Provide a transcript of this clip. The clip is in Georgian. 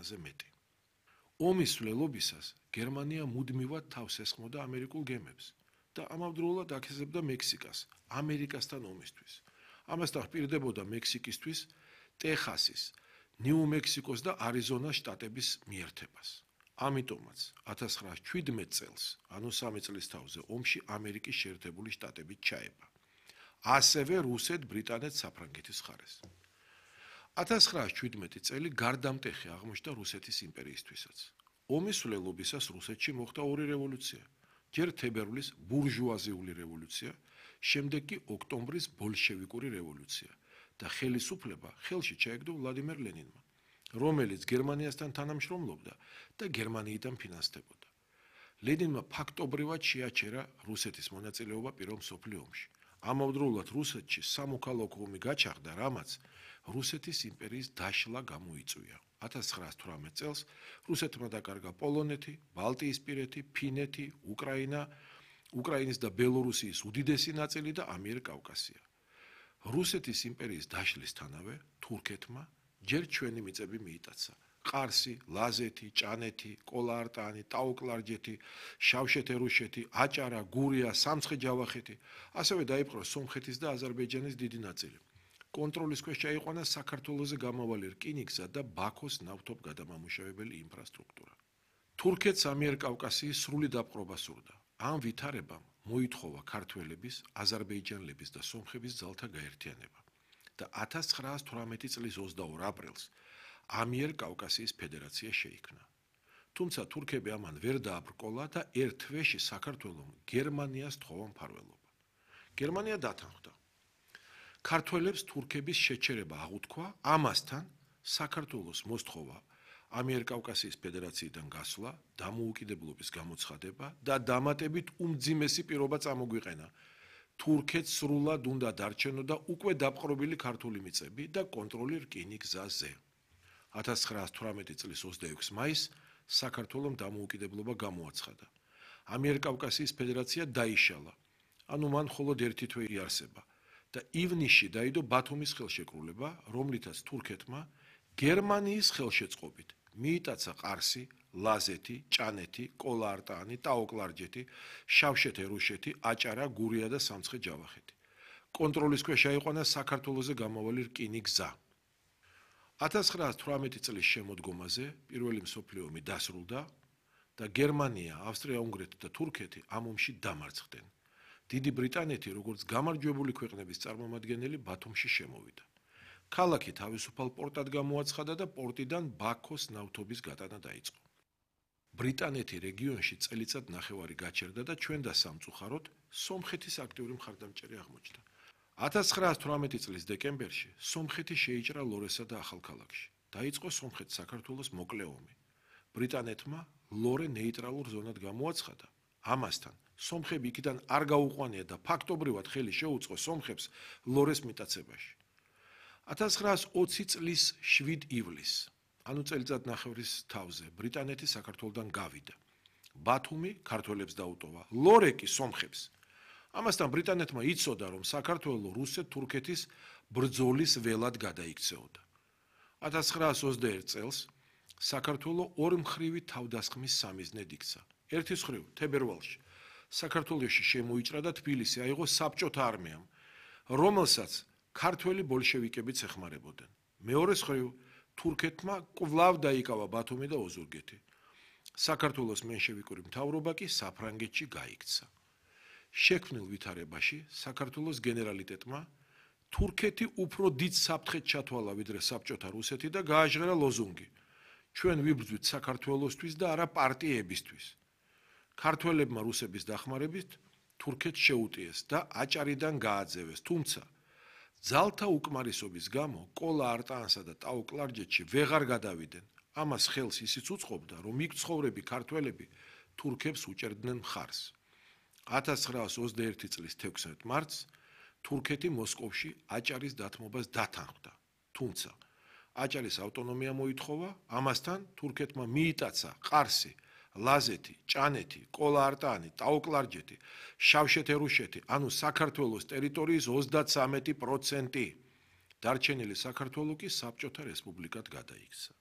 ათასზე მეტი. ომის სვლელობისას გერმანია მუდმივად თავს ესხმოდა ამერიკულ გემებს და ამავდროულად აქეზებდა მექსიკას ამერიკასთან ომისთვის. ამასთან პირდებოდა მექსიკისთვის ტეხასის, ნიუ-მექსიკოს და არიზონას შტატების მიერთებას. ამიტომაც 1917 წელს, ანუ 3 წლის თავზე, ომში ამერიკის შეერთებული შტატები ჩაება. ასევე რუსეთ-ბრიტანეთს საფრანგეთის ხარეს. 1917 წელი გარდამტეხი აღმოჩნდა რუსეთის იმპერიისთვისაც. ომის სვლელობისას რუსეთში მოხდა ორი რევოლუცია. ჯერ თებერვლის ბურჟუაზიული რევოლუცია, შემდეგ კი ოქტომბრის ბოლშევიკური რევოლუცია და ხელისუფლება ხელში ჩაეგდო ვლადიმერ ლენინმა, რომელიც გერმანიასთან თანამშრომლობდა და გერმანიიდან ფინანსდებოდა. ლენინმა ფაქტობრივად შეაჩერა რუსეთის მონაწილეობა პირველ მსოფლიო ომში. ამავდროულად რუსეთში სამოქალაქო ომი გაჩაღდა, რამაც რუსეთის იმპერიის დაშლა გამოიწვია. 1918 წელს რუსეთმა დაკარგა პოლონეთი, ბალტიისპირეთი, ფინეთი, უკრაინის და ბელორუსიის უდიდესი ნაწილი და ამიერკავკასია. რუსეთის იმპერიის დაშლისთანავე თურქეთმა ჯერ ჩვენი მიწები მიიტაცა. ყარსი, ლაზეთი, ჭანეთი, კოლა-არტანი, ტაო-კლარჯეთი, შავშეთ-ერუშეთი, აჭარა, გურია, სამცხე-ჯავახეთი, ასევე დაიპყრო სომხეთის და აზერბაიჯანის დიდი ნაწილი. კონტროლის ქვეშ ჩაიყვანა საქართველოზე გამავალი რკინიგზა და ბაქოს ნავთობგადამამუშავებელი ინფრასტრუქტურა. თურქეთს ამიერკავკასიის სრული დაპყრობა სურდა. ამ ვითარებამ მოითხოვა ქართველების, აზერბაიჯანელების და სომხების ძალთა გაერთიანება და 1918 წლის 22 აპრილს ამიერკავკასიის ფედერაცია შეიქმნა. თუმცა თურქები ამან ვერ დააბრკოლა და ერთ თვეში საქართველომ გერმანიას თხოვა მფარველობა. გერმანია დათანხმდა. ქართველებს თურქების შეჩერება აღუთქვა, ამასთან საქართველოს მოსთხოვა ამიერკავკასიის ფედერაციიდან გასვლა, დამოუკიდებლობის გამოცხადება და დამატებით უმძიმესი პირობა წამოგვიყენა. თურქეთს სრულად უნდა დარჩენო და უკვე დაპყრობილი ქართული მიწები და კონტროლი რკინიგზაზე. 1918 წლის 26 მაისს საქართველომ დამოუკიდებლობა გამოაცხადა. ამიერკავკასიის ფედერაცია დაიშალა, ანუ მან მხოლოდ ერთი თვე იარსება და ივნისში დაიდო ბათუმის ხელშეკრულება, რომლითაც თურქეთმა გერმანიის ხელშეწყობით მიიტაცა ყარსი, ლაზეთი, ჭანეთი, კოლა-არტანი, ტაო-კლარჯეთი, შავშეთ-ერუშეთი, აჭარა, გურია და სამცხე-ჯავახეთი. კონტროლის ქვეშ აიყვანა საქართველოზე გამავალი რკინიგზა. 1918 წლის შემოდგომაზე პირველი მსოფლიო ომი დასრულდა და გერმანია, ავსტრია-უნგრეთი და თურქეთი ამ ომში დამარცხდნენ. დიდი ბრიტანეთი, როგორც გამარჯვებული ქვეყნების წარმომადგენელი, ბათუმში შემოვიდა. ქალაქი თავისუფალ პორტად გამოაცხადა და პორტიდან ბაქოს ნავთობის გატანა დაიწყო. ბრიტანეთი რეგიონში წელიწად ნახევარი გაჩერდა და ჩვენ და სამწუხაროდ სომხეთის აქტიური მხარდამჭერი აღმოჩნდა. 1918 წლის დეკემბერში სომხეთი შეიჭრა ლორესა და ახალქალაქში. დაიწყო სომხეთ-საქართველოს მოკლე ომი. ბრიტანეთმა ლორე ნეიტრალურ ზონად გამოაცხადა. ამასთან სომხები იქიდან არ გაუყვანია და ფაქტობრივად ხელი შეუწყო სომხებს ლორეს მიტაცებაში. 1920 წლის 7 ივლისს, ანუ წელიწად ნახევრის თავზე, ბრიტანეთი საქართველოდან გავიდა. ბათუმი ქართველებს დაუტოვა, ლორე კი სომხებს. ამასთან ბრიტანეთმა იცოდა, რომ საქართველო რუსეთ-თურქეთის ბრძოლის ველად გადაიქცეოდა. 1921 წელს საქართველო ორმხრივი თავდასხმის სამიზნედ იქცა. ერთის მხრივ თებერვალში საქართველოში შემოიჭრა და თბილისი აიღო საბჭოთა არმიამ, რომელსაც ქართველი ბოლშევიკებიც ეხმარებოდნენ. მეორეს მხრივ თურქეთმა კვლავ დაიკავა ბათუმი და ოზურგეთი. საქართველოს მენშევიკური მთავრობა კი საფრანგეთში გაიქცა. შექმნილ ვითარებაში საქართველოს გენერალიტეტმა თურქეთი უფრო დიდ საფრთხედ ჩათვალა ვიდრე საბჭოთა რუსეთი და გააჟღერა ლოზუნგი: ჩვენ ვიბრძვით საქართველოსთვის და არა პარტიებისთვის. ქართველებმა რუსების დახმარებით თურქეთს შეუტიეს და აჭარიდან გააძევეს, თუმცა ძალთა უკმარისობის გამო კოლა-არტანსა და ტაო-კლარჯეთში ვეღარ გადავიდნენ. ამას ხელს ისიც უწყობდა, რომ იქ მცხოვრები ქართველები თურქებს უჭერდნენ მხარს. 1921 წლის 16 მარტს თურქეთი მოსკოვში აჭარის დათმობას დათანხმდა, თუმცა აჭარის ავტონომია მოითხოვა, ამასთან თურქეთმა მიიტაცა ყარსი, ლაზეთი, ჭანეთი, კოლა-არტანი, ტაო-კლარჯეთი, შავშეთ-ერუშეთი, ანუ საქართველოს ტერიტორიის 33%. დარჩენილი საქართველო კი საბჭოთა რესპუბლიკად გადაიქცა.